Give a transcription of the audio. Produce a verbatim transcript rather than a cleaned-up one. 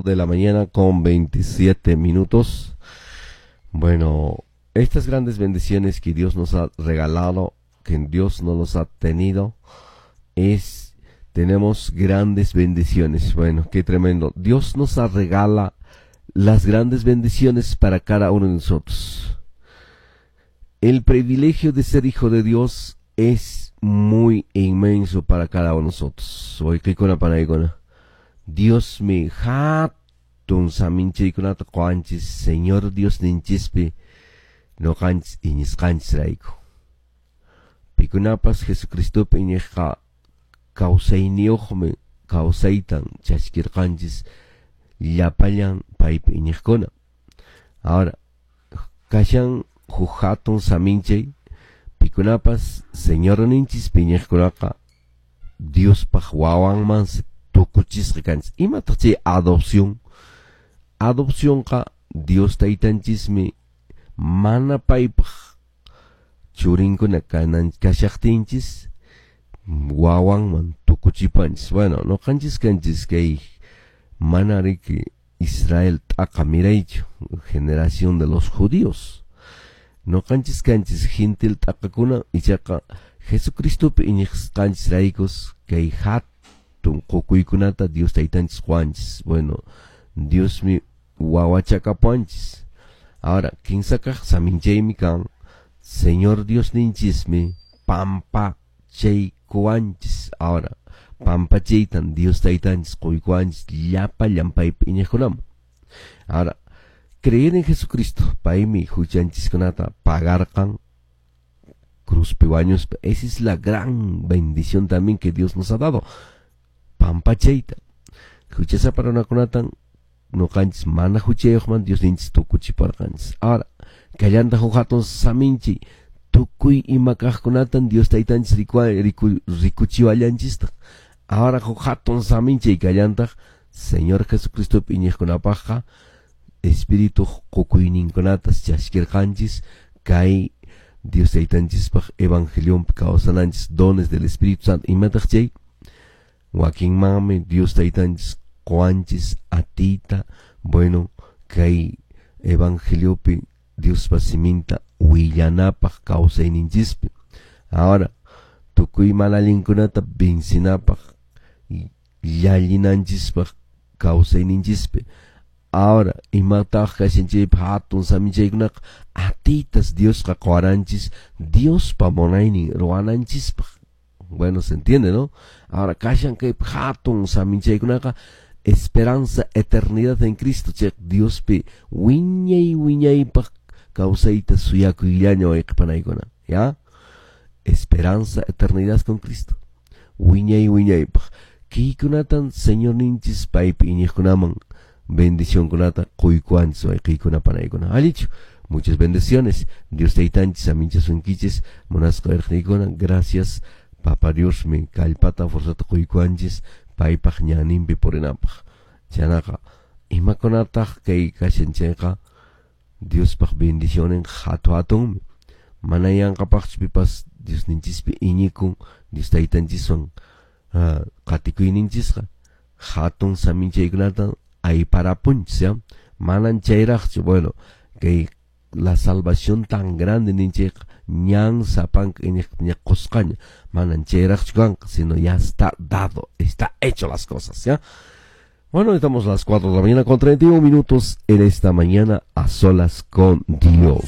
de la mañana con veintisiete minutos. Bueno, estas grandes bendiciones que Dios nos ha regalado, que Dios no nos ha tenido, es, tenemos grandes bendiciones. Bueno, qué tremendo. Dios nos regala las grandes bendiciones para cada uno de nosotros. El privilegio de ser hijo de Dios es muy inmenso para cada uno de nosotros. Diosmi hatun saminchaykunata quwanchis Señor Diosninchispi ñuqanchis iñisqanchisrayku. Pikunapas Jesucristopi iñiqqa kawsayniyuqmi kawsaytan chaskirqanchis llapallan paypi iñiqkuna. Ahora, kashan huk hatun saminchay pikunapas Señorninchispi iñiqkunaqa Diospaq wawanmansi tukuchisqa kanchis. Imataq chay adopción? Adopcionqa Dios taytanchismi mana paypaq churinkuna kanan kashaqtinchis wawanman tukuchipanchis. Bueno, ñuqanchis kanchis kay mana riki Israel t'aqa miraychu, generación de los judíos. Ñuqanchis kanchis gentil t'aqakuna ichaqa Jesucristopi iñiqsqanchisraykus kay hatun qukuykunata Dios taytanchis quwanchis. Bueno, Diosmi wawachakapuwanchis. Ahora, kinsa kaq saminchaymi kan Señor Diosninchismi pampachaykuwanchis. Ahora, pampachaytan Dios taytanchis quykuwanchis llapallan paypi iñiqkunaman. Ahora, creer en Jesucristo, paymi huchanchiskunata pagarqan cruzpi wañuspa. Esa es la gran bendición también que Dios nos ha dado. Pampachayta. Huchasapa runakunatan ñuqanchis mana huchayuqman Diosninchis tukuchiparqanchis. Ahora, kallanta huk hatun saminchi tukuy ima kaqkunatan Dios taytanchis riku, rikuchiwallanchistaq. Ahora huk hatun saminchay kallantaq Señor Jesucristopi iñiqkunapaqqa Espíritu qukuyninkunatas chaskirqanchis kay Dios taytanchispaq evangelionpi kawsananchis dones del Espíritu Santo. Imataq chay? Wakinmanmi Dios taytanchis quwanchis atiyta, bueno, kay evangeliopi Diospa siminta willanapaq kawsayninchispi. Ahora, tukuy mana allinkunata vencinapaq llallinanchispaq kawsayninchispi. Ahora, imataq kashan chaypi hatun saminchaykunaqa atitas Diosqa quwaranchis Diospa munaynin ruwananchispaq. Bueno, se entiende, ¿no? Ahora, kashan kaypi hatun saminchaykunaqa esperanza, eternidad en Cristo, chay Diospi wiñay wiñaypaq kawsayta suyakuyllaña wayqipanaykuna, ¿ya? Esperanza, eternidad con Cristo. Wiñay wiñaypaq. Kaykunatan Señorninchis paypi iñiqkunaman bendicionkunata quykuwanchis wayqiykuna panaykuna. Allichu. Muchas bendiciones. Dios taytanchis saminchasunkichis munasqa irqniykuna. Gracias. Papa Diosmi kallpata fuerzata quykuwanchis paypaq ñaninpi purinapaq. Chaynaqa imakunataq kay kashan chayqa Diospaq bendicionin hatu hatunmi. Mana yanqapaqchu pipas Diosninchispi iñikun Dios taytanchiswan qatikuyninchisqa hatun saminchaykunata ayparapunchis, ¿ya? Manan chayraqchu. Bueno, kay la salvación tan grande ninchayqa ñan sapanka iñiq qusqaña manan chayraqchu kanqa, sino ya está dado, está hecho las cosas, ¿ya? Bueno, estamos a las cuatro de la mañana con treinta y un minutos en esta mañana a solas con Dios.